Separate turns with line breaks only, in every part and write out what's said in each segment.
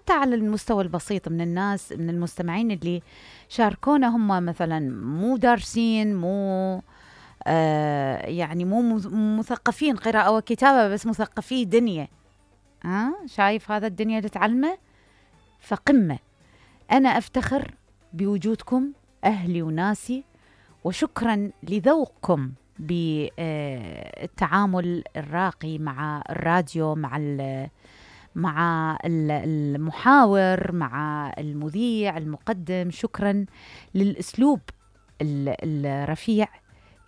حتى على المستوى البسيط من الناس، من المستمعين اللي شاركونا هم مثلا مو دارسين، مو يعني مو مثقفين قراءة وكتابة، بس مثقفي دنيا. شايف هذا الدنيا اللي تعلمه؟ فقمة. أنا أفتخر بوجودكم أهلي وناسي، وشكرا لذوقكم بالتعامل الراقي مع الراديو، مع المحاور، مع المذيع المقدم. شكرا للأسلوب الرفيع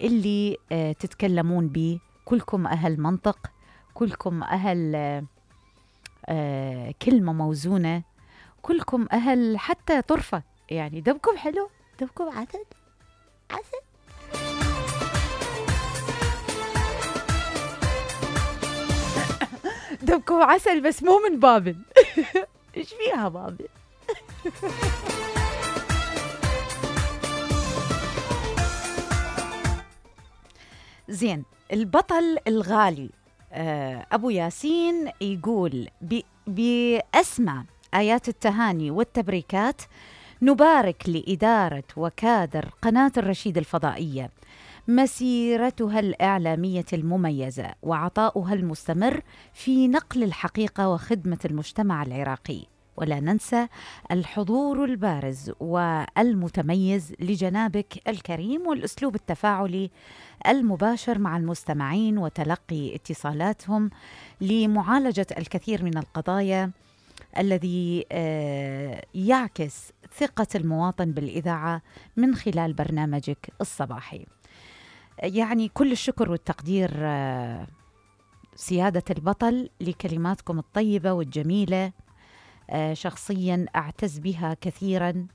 اللي تتكلمون به. كلكم أهل منطق، كلكم أهل كلمة موزونة، كلكم أهل حتى طرفة. يعني دمكم حلو، دمكم عسل عسل. دمكم عسل، بس مو من بابل. ايش فيها بابل؟ زين، البطل الغالي أبو ياسين يقول بأسمى آيات التهاني والتبريكات نبارك لإدارة وكادر قناة الرشيد الفضائية مسيرتها الإعلامية المميزة وعطاؤها المستمر في نقل الحقيقة وخدمة المجتمع العراقي، ولا ننسى الحضور البارز والمتميز لجنابك الكريم والأسلوب التفاعلي المباشر مع المستمعين وتلقي اتصالاتهم لمعالجة الكثير من القضايا، الذي يعكس ثقة المواطن بالإذاعة من خلال برنامجك الصباحي. يعني كل الشكر والتقدير سيادة البطل لكلماتكم الطيبة والجميلة. شخصيا أعتز بها كثيرا،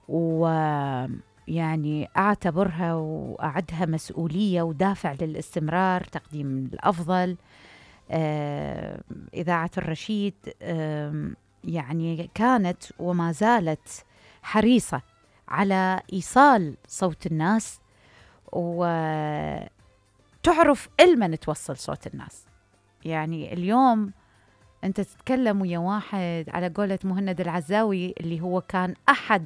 ويعني أعتبرها وأعدها مسؤولية ودافع للاستمرار تقديم الأفضل. إذاعة الرشيد يعني كانت وما زالت حريصة على إيصال صوت الناس، وتعرف إلمن توصل صوت الناس. يعني اليوم أنت تتكلم ويا واحد على قولة مهند العزاوي اللي هو كان أحد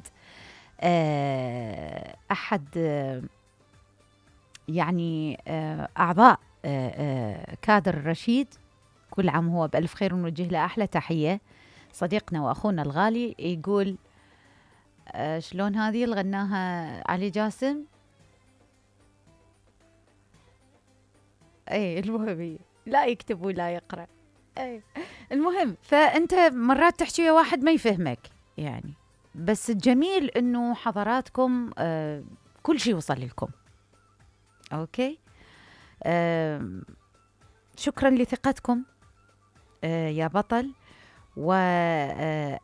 يعني أعضاء كادر الرشيد. كل عام هو بألف خير، ونوجه له أحلى تحية. صديقنا وأخونا الغالي يقول شلون هذه اللي غناها علي جاسم؟ اي المهم لا يكتب ولا يقرأ. اي المهم، فأنت مرات تحكي ويا واحد ما يفهمك يعني، بس الجميل انه حضراتكم كل شيء وصل لكم. اوكي، شكرا لثقتكم يا بطل، وإن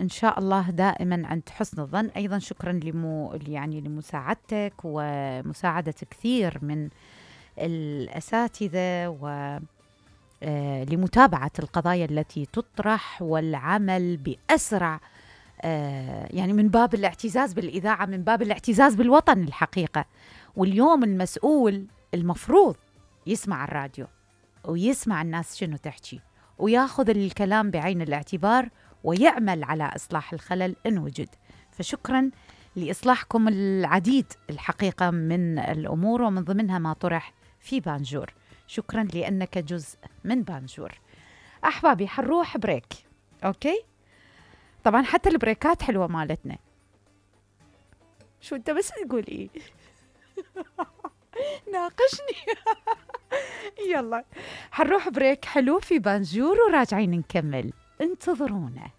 شاء الله دائما عند حسن الظن. أيضا شكرا لمساعدتك ومساعدة كثير من الأساتذة، ولمتابعة القضايا التي تطرح والعمل بأسرع، يعني من باب الاعتزاز بالإذاعة، من باب الاعتزاز بالوطن الحقيقة. واليوم المسؤول المفروض يسمع الراديو ويسمع الناس شنو تحكي، وياخذ الكلام بعين الاعتبار ويعمل على إصلاح الخلل إن وجد. فشكرا لإصلاحكم العديد الحقيقة من الأمور، ومن ضمنها ما طرح في بانجور. شكرا لأنك جزء من بانجور. أحبابي حنروح بريك. أوكي، طبعا حتى البريكات حلوة مالتنا. شو أنت بس تقول إيه؟ ناقشني. يلا حنروح بريك حلو في بانجور وراجعين نكمل، انتظرونا.